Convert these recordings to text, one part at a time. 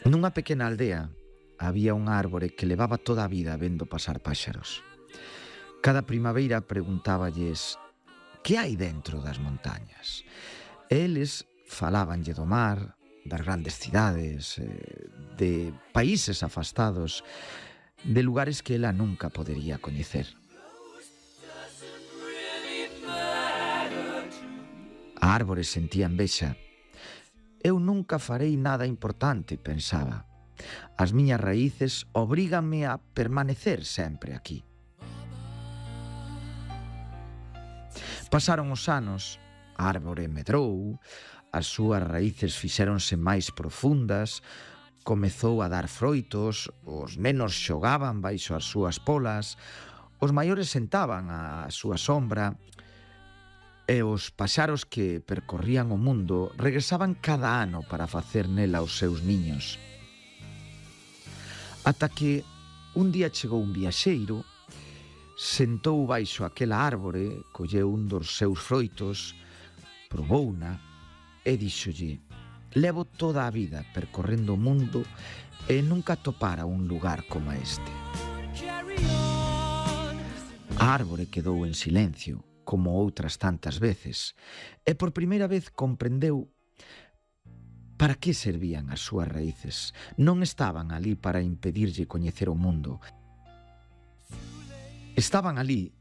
Nunha pequena aldea había un árbore que levaba toda a vida vendo pasar páxaros. Cada primavera preguntáballes que hai dentro das montañas. Eles falábanlle do mar, das grandes cidades, de países afastados, de lugares que ela nunca podería coñecer. A árbore sentía envexa. Eu nunca farei nada importante, pensaba. As miñas raíces obríganme a permanecer sempre aquí. Pasaron os anos, a árbore medrou, as súas raíces fixéronse máis profundas, comezou a dar froitos, os nenos xogaban baixo as súas polas, os maiores sentaban á súa sombra, e os paxaros que percorrían o mundo regresaban cada ano para facer nela os seus niños. Ata que un día chegou un viaxeiro, sentou baixo aquela árbore, colleu un dos seus froitos, probouna e díxolle: levo toda a vida percorrendo o mundo e nunca topara un lugar como este. A árbore quedou en silencio, como outras tantas veces, e por primeira vez comprendeu para que servían as súas raíces. Non estaban ali para impedirlle coñecer o mundo. Estaban ali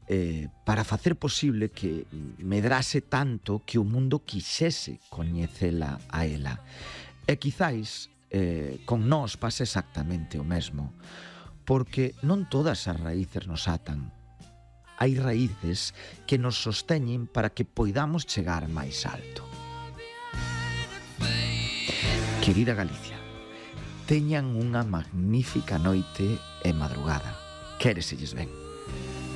para facer posible que medrase tanto que o mundo quixese coñecela a ela. E quizáis con nós pasa exactamente o mesmo, porque non todas as raíces nos atan. Hai raíces que nos sosteñen para que poidamos chegar máis alto. Querida Galicia, teñan unha magnífica noite e madrugada. Quéreselles ben.